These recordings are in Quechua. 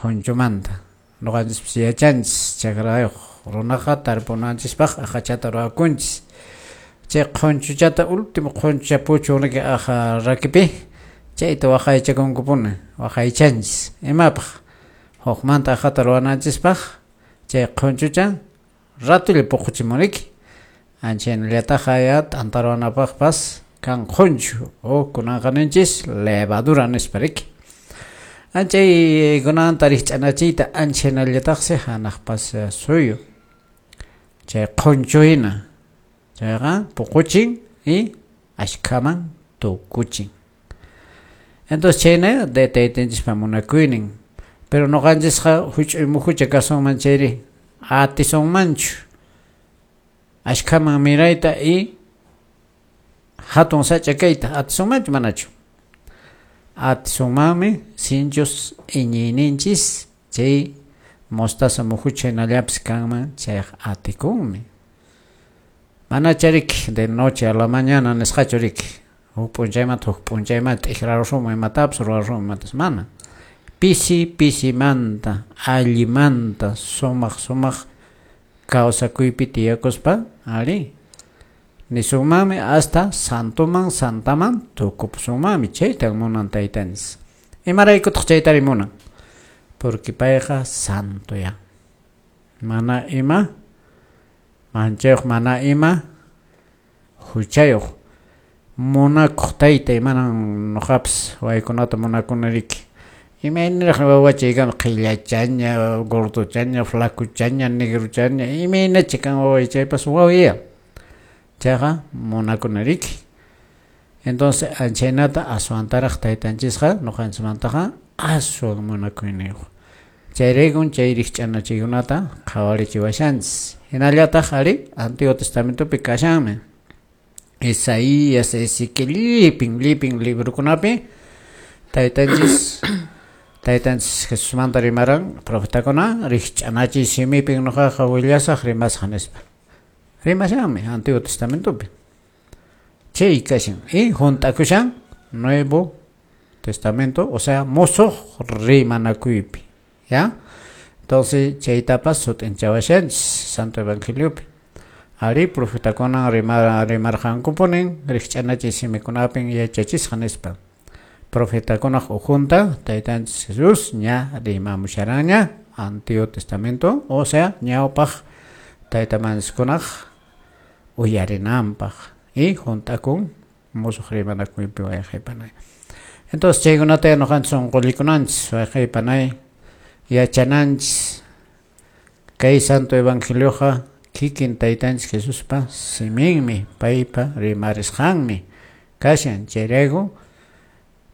Qhunchumanta ñuqanchispis yachanchis chakrayuq runaqa tarpunanchispaq aqhachata ruwakunchis. Chay qhunchuchata último qhunchucha puchun aqa rakipi chayta waqaychakunkupuni waqaychanchis. Imapaq hukmanta aqhata ruwananchispaq chay qhunchucha ratulla puquchimuniki. Anchaynallataq ya t'anta ruwanapaqpas kan qhunchu o kunanqa ninchis levadura nispa riki. Anchay kunanta rikch'anachiyta anchaynallataqsi hanaqpas suyu chay qhunchu hina chayqa puquchin y ashkhaman tukuchin. Entonces chayna de taytanchispa munakuynin. Pero ñuqanchisqa huch'uy muhucha kasunman chayri atisunmanchu ashkhaman mirayta y hatun sach'a kayta atisunmanchu manachu. Atisunmanmi sinchus iñiyninchis chay mostaza muhucha hinallapis kanman chayqa atikunmi. Mana chariki de noche a la mañana nisqachu riki huk p'unchaymanta huk p'unchaymanta t'ikrarusunman imatapas ruwarusunman imatas mana. Pisi pisimanta allimanta sumaq sumaq kawsakuypi tiyakuspa ari nisunmanmi hasta santoman santaman tukupusunmanmi chaytan munan taytanchis. Imaraykutaq chaytari munan? Porque payqa santo ya. Mana ima manchayuq mana ima huchayuq munakuq taytay manan ñuqapas waykunata munakuni riki. Imaynaraq wawachay kan qhillachaña, gordochaña, flacuchaña, negrochaña, imaynacha kan waway chaypas wawaya. Chayqa munakuni riki. Entonces anchaynata aswantaraq taytanchisqa ñuqanchismantaqa aswan munakuyniyuq. Chayraykun chay rikch'anachiykunata qhawarichiwashanchis. Hinallataq ari Antiguo Testamentopi kashanmi. Isaías, Ezequiel, llipin, llipin librokunapi taytanchis taytanchis Jesusmanta rimaran profetakuna rikch'anachiy simipin ñuqaqa willasaq rimasaq nispa. Rimashanmi Antiguo Testamentopi. Chay kashan y hunt'akushan Nuevo Testamento, o sea, musuq rimanakuypi, ¿ya? Entonces chaytapas sut'inchawashanchis Santo Evangeliopi. Ari profetakuna rimarqankupunin rikch'anachiy simikunapin yachachisqa nispa. Profetakunaq ukhunta taytanchis Jesús ña rimamusharanña Antiguo Testamento, o sea, ñawpaq taytamanchiskunaq uyarinanpaq y hunt'akun musuq rimanakuypi wayqaypanay. Entonces chaykunata ñuqanchis unqullikunanchis wayqaypanay yachananchis kay Santo Evangelioqa kikin taytanchis Jesuspa siminmi paypa rimarisqanmi kashan. Chayrayku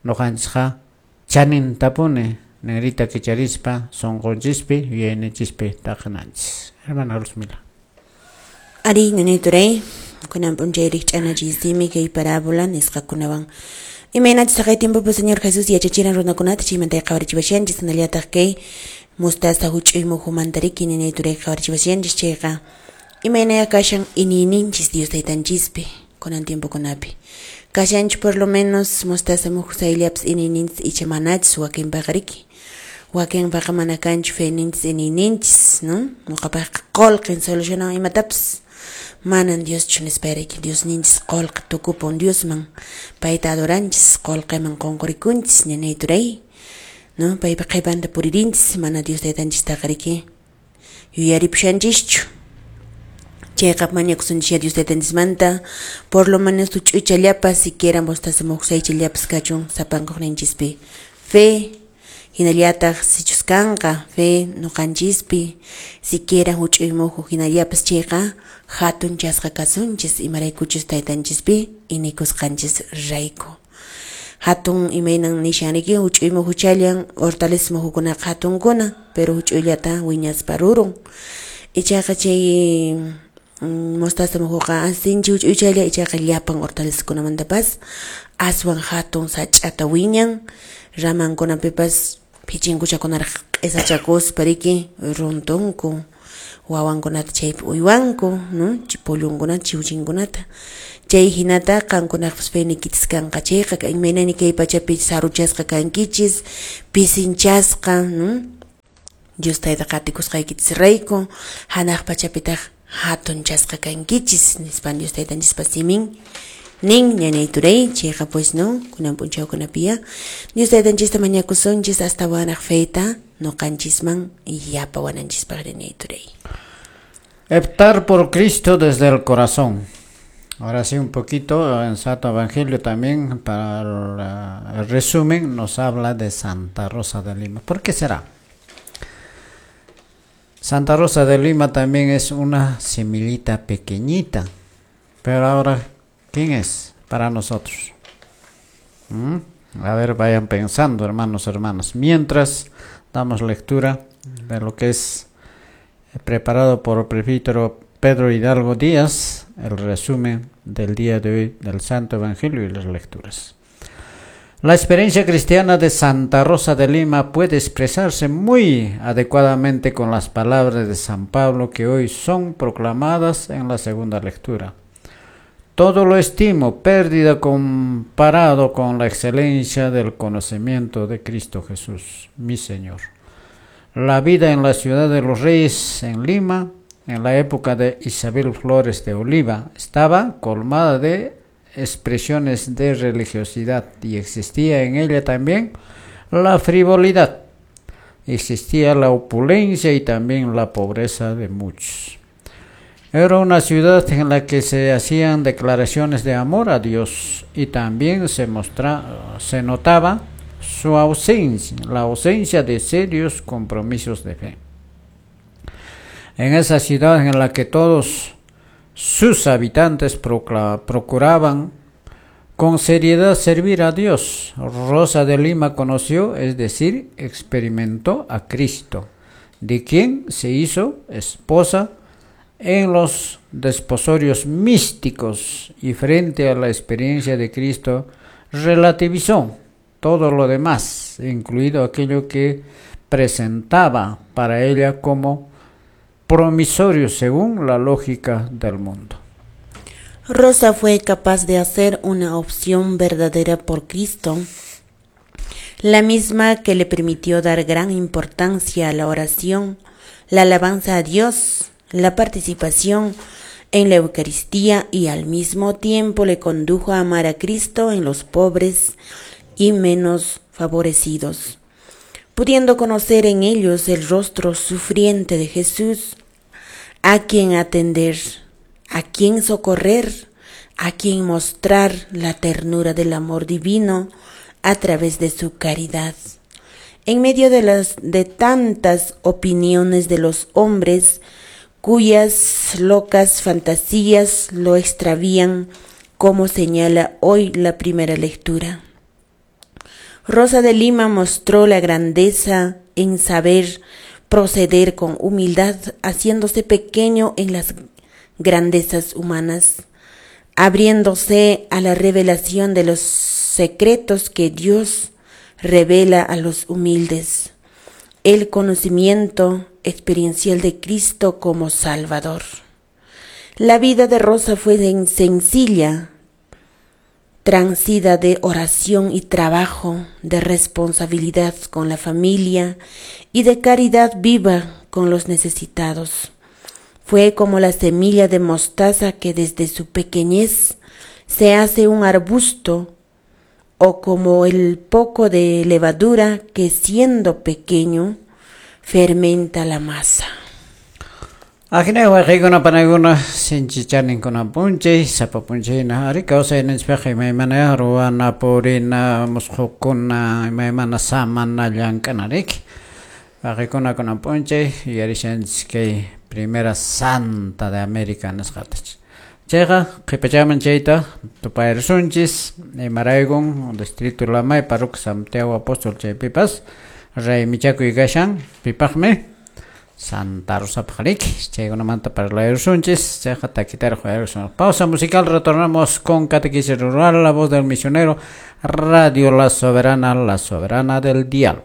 ñuqanchisqa chanintapuni ninrita kicharispa sunqunchispi yuyayninchispi taqinanchis. Hermana Luzmila. Ari ñañay kunan p'unchay rikch'anachiy simi kay parábola nisqakunawan. Imaynachus taqay tiempopi Señor Jesús yachachiran runakunata chaymanta qhawarichiwashanchis hinallataq kay mostaza huch'uy muhumanta riki ñañay turay qhawarichiwashanchis chayqa imaynaya kashan iñiyninchis Dios taytanchispi kunan tiempokunapi. Kashanchu por lo menos mostaza muhu sayllapas iñiyninchis icha manachis wakinpaqa riki. Wakinpaqa mana kanchu feyninchis iñiyninchis, ¿no? Ñuqapaqqa qullqin solucionan imatapas. Manan Dioschu nispa riki Diosninchis qullqi tukupun Diosman payta adoranchis qullqiman qunqurikunchis ñañay turay, ¿no? Paypa qhipanta puririnchis mana Dios taytanchistaqa riki yuyaripushanchischu. Chayqa mañakusunchis Dios taytanchismanta por lo menos huch'uychallapas siquiera mostaza muhu saychallapas kachun sapankuqninchispi fe hinallataq sichus kanqa fe ñuqanchispi siquiera huch'uy muhu hinallapas chayqa hatunchasqa kasunchis imaraykuchus taytanchispi inikusqanchis rayku. Hatun imaynan nishan riki huch'uy muhuchallan hortaliza muhukunaqa hatunkuna pero huch'uyllata wiñaspa rurun. Ichaqa chay mostaza muhuqa sinchi huch'uychalla ichaqa llapan hortalizakunamantapas aswan hatun sach'ata wiñan ramankunapipas phichinkuchakunaraq q'isachakuspa riki runtunku wawankunata chaypi uywanku, ¿no? Pollunkunata chiwchinkunata. Chay hinata qankunaqpas feynikichis kanqa chayqa imaynani kay pachapi saruchasqa kankichis pisinchasqa, ¿no? Dios tayta qatikusqaykichisrayku hanaq pachapitaq hatunchasqa kankichis nispan Dios taytanchispa simin nin ñañay turay. Chayqa pues no kunan p'unchawkunapiya Dios taytanchista mañakusunchis astawanraq feta noqanchisman yapawananchispaq ñañay turay. Optar por Cristo desde el corazón. Ahora sí, un poquito en Santo Evangelio también, para el resumen, nos habla de Santa Rosa de Lima. ¿Por qué será? Santa Rosa de Lima también es una semillita pequeñita. Pero ahora, ¿quién es para nosotros? A ver, vayan pensando, hermanos, hermanas. Mientras damos lectura de lo que es preparado por el presbítero Pedro Hidalgo Díaz, el resumen del día de hoy del Santo Evangelio y las lecturas. La experiencia cristiana de Santa Rosa de Lima puede expresarse muy adecuadamente con las palabras de San Pablo que hoy son proclamadas en la segunda lectura. Todo lo estimo pérdida comparado con la excelencia del conocimiento de Cristo Jesús, mi Señor. La vida en la ciudad de los Reyes, en Lima, en la época de Isabel Flores de Oliva, estaba colmada de expresiones de religiosidad y existía en ella también la frivolidad. Existía la opulencia y también la pobreza de muchos. Era una ciudad en la que se hacían declaraciones de amor a Dios y también se notaba su ausencia, la ausencia de serios compromisos de fe. En esa ciudad en la que todos sus habitantes procuraban con seriedad servir a Dios, Rosa de Lima conoció, es decir, experimentó a Cristo, de quien se hizo esposa en los desposorios místicos, y frente a la experiencia de Cristo relativizó todo lo demás, incluido aquello que presentaba para ella como promisorio según la lógica del mundo. Rosa fue capaz de hacer una opción verdadera por Cristo, la misma que le permitió dar gran importancia a la oración, la alabanza a Dios, la participación en la Eucaristía, y al mismo tiempo le condujo a amar a Cristo en los pobres y menos favorecidos, pudiendo conocer en ellos el rostro sufriente de Jesús, a quien atender, a quien socorrer, a quien mostrar la ternura del amor divino a través de su caridad. En medio de tantas opiniones de los hombres, cuyas locas fantasías lo extravían, como señala hoy la primera lectura. Rosa de Lima mostró la grandeza en saber proceder con humildad, haciéndose pequeño en las grandezas humanas, abriéndose a la revelación de los secretos que Dios revela a los humildes, el conocimiento experiencial de Cristo como Salvador. La vida de Rosa fue sencilla, transida de oración y trabajo, de responsabilidad con la familia y de caridad viva con los necesitados. Fue como la semilla de mostaza que desde su pequeñez se hace un arbusto, o como el poco de levadura que siendo pequeño fermenta la masa. Ajina waqaykuna panaykuna sinchi chaninkuna p'unchay sapa p'unchayna ari kawsayninchikpiqa imaymana ruwana purina musqhukuna imaymana samana llank'ana riki. Waqaykuna kunan p'unchay yuyarishanchik kay primera santa de América nisqatach. Chayqa qhipachaman chayta tupayrisunchis imaraykun distrito Lamay parroquia Santiago Apóstol chaypipas raymichakuy kashan pipaqmi Santa Rosa Pajaric, chaykunamanta parlayrusunchis, chayqa takitaraq uyarisun. Pausa musical, retornamos con Catequesis Rural, la voz del misionero, Radio La Soberana del Dial.